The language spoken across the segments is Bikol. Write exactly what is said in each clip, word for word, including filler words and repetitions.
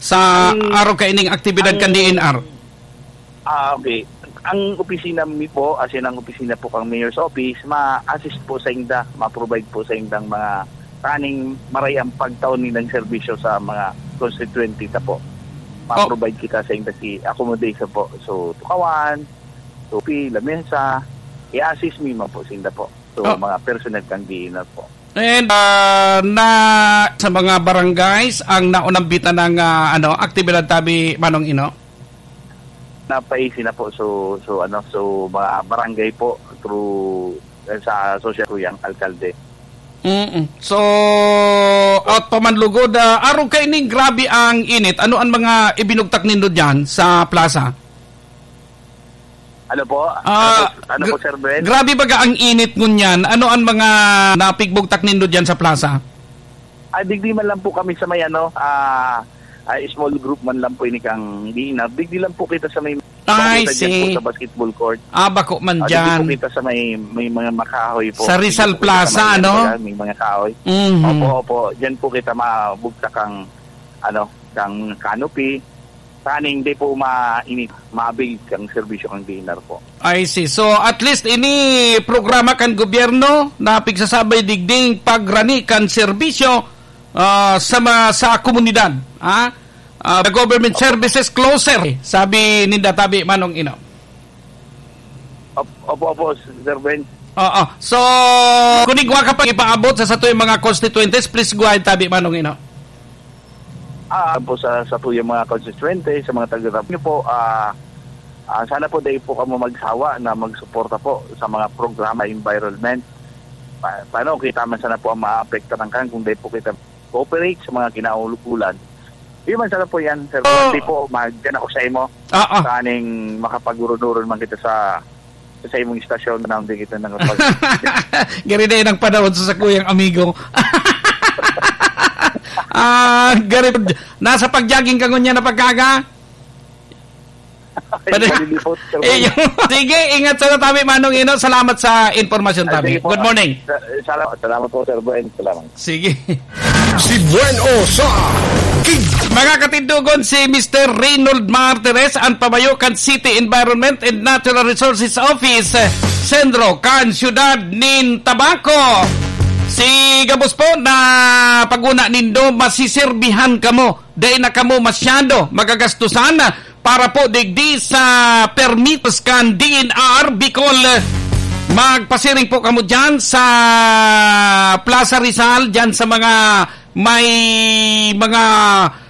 Sa Ang, arog kaining aktibidad ang kan D N R? Ah, okay. Ang opisina mi po, as in, ang opisina po kang Mayor's Office, ma-assist po sa inda, ma-provide po sa indang mga kaning maray ang pagtaon nilang serbisyo sa mga constituente ta po. Oh. Ma-provide kita sa inda si accommodation po. So, tukawan, tupi, lamesa, i-assist mi man po sa inda po. So, Oh. mga personnel kang D N R po. And, ah, na sa mga barangays ang naunambitan ng, ah, ano, aktibidad tabi, Manong Ino? Napaisi na po. So, so, ano, so, mga barangay po through, eh, sa social ko yang alkalde. Mm-mm. So, out pa man lugod, ah, arog kaining grabe ang init. Ano ang mga ibinugtak nindo diyan sa plaza? Ano po? Ah, Ano po, ano po, gra-, Sir Ben? grabe baga ang init ngunyan. Ano ang mga napigbugtak nindo diyan sa plaza? Ah, digdi man lang po kami sa may ano, ah, ah, small group man lang po ini kang D N R. Digdi lang po kita sa may, I bako kita dyan po see. sa basketball court. Ah, bako man Ah, digdi dyan. po kita sa may, may mga makahoy po. Sa Digdi Rizal po kita sa Plaza, may, ano? ano ba, may mga kahoy. Mhm. Opo, opo. Diyan po kita mabugtak ang, ano, kang canopy. Saning di po ma-, ini, maabig ang serbisyo ng D N R po. I see. So, at least ini programa kan gobyerno na pigsasabay digding pagrani kan serbisyo, ah, sa ma-, sa komunidad, ha? Ah, the government Opo. services closer, sabi ninda tabi, Manong Ino. Op-, opo, opo, Sir Ben. Oo. So, kung igwa ka pa ipaabot sa satuyang mga constituentes, please go ahead, tabi, Manong Ino. Ah, po sa, sa tuyang mga konstituyente, sa mga taga-rap niyo po, ah, ah, sana po dahil po kamo magsawa na magsuporta po sa mga programa environment. Pa-, paano kita man sana po ang maapektaran kan kung dahil po kita cooperate sa mga kinauukulan? Yun man sana po yan, sir. Oh. Hindi po, mag-, dyan ako sa imo. Ah, ah. Sa aning makapag-uron-uron man kita sa sa imong istasyon, na hindi kita nakapag- Gari na yun ang panahon sa sakuyang amigo. Ah, gari, nasa pag-jogging ka ngunyan na pagkaga? Ay, Pwede- malilipot, sir. Eh, yung- Sige, ingat sana tabi, Manong Ino. Salamat sa impormasyon, Ah, tabi. sige po. Good morning. Sa-, salamat, salamat po, Sir Buen. Salamat. Sige. Si Buen O sa King. Mga katindogon, si Mister Reynold Martires, an pamayo kan City Environment and Natural Resources Office, eh, sentro kan siyudad nin Tabaco. Si gabos po na pag-una nindo, masisirbihan kamo. Dai na kamo masyado magagastusan para po digdi sa permitos kan D N R Bicol. Magpasiring po kamo dyan sa Plaza Rizal, dyan sa mga may mga,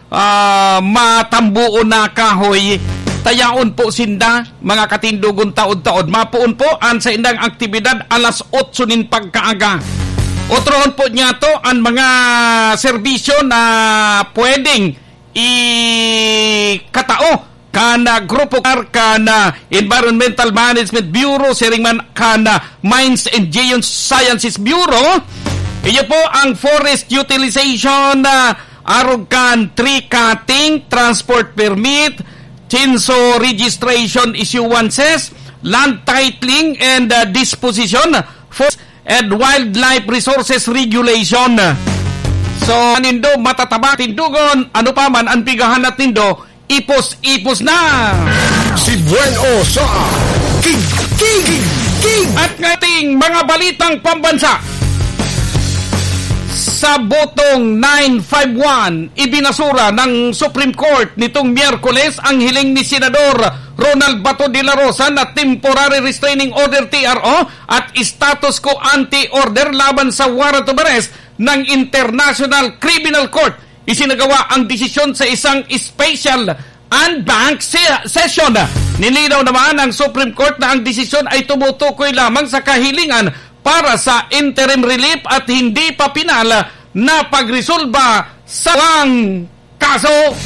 ah, matambuon na kahoy. Tayaon po sinda, mga katindogon, taod-taod. Mapoon po an saindang aktibidad alas otso nin pagkaaga. Otrohon po niya to an mga serbisyo na pwedeng ikatao kan, ah, grupo kan, ah, Environmental Management Bureau, siring man kan, ah, Mines and Geosciences Bureau. Iyo po ang forest utilization, ah, arog kan tree cutting, transport permit, chainsaw registration issuances, land titling and, ah, disposition, forest and Wildlife Resources Regulation. So, nindo matataba, tindogon, ano pa man ang pighahanap nindo, ipos-ipos na. Si Buen O sa King, King, King, King. At ngating mga balitang pambansa. Sa botong nine five one, ibinasura ng Supreme Court nitong Miyerkules ang hiling ni Senador Ronald Bato de la Rosa na temporary restraining order, T R O, at status quo ante order laban sa warrant of arrest ng International Criminal Court. Isinagawa ang desisyon sa isang special en banc se-, session. Nilinaw naman ng Supreme Court na ang desisyon ay tumutukoy lamang sa kahilingan para sa interim relief at hindi pa pinal na pagresolba sa kaso.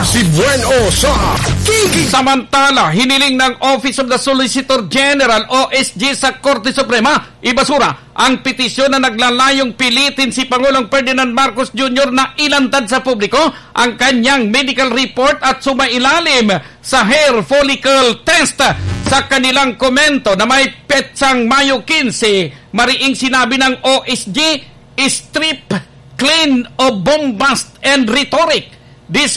Si Buen O sa King. Samantala, hiniling ng Office of the Solicitor General, O S G, sa Korte Suprema, ibasura ang petisyon na naglalayong pilitin si Pangulong Ferdinand Marcos Junior na ilantad sa publiko ang kanyang medical report at sumailalim sa hair follicle test sa kanilang komento na may petsang Mayo quince. Mariing sinabi ng O S G, strip clean of bombast and rhetoric. This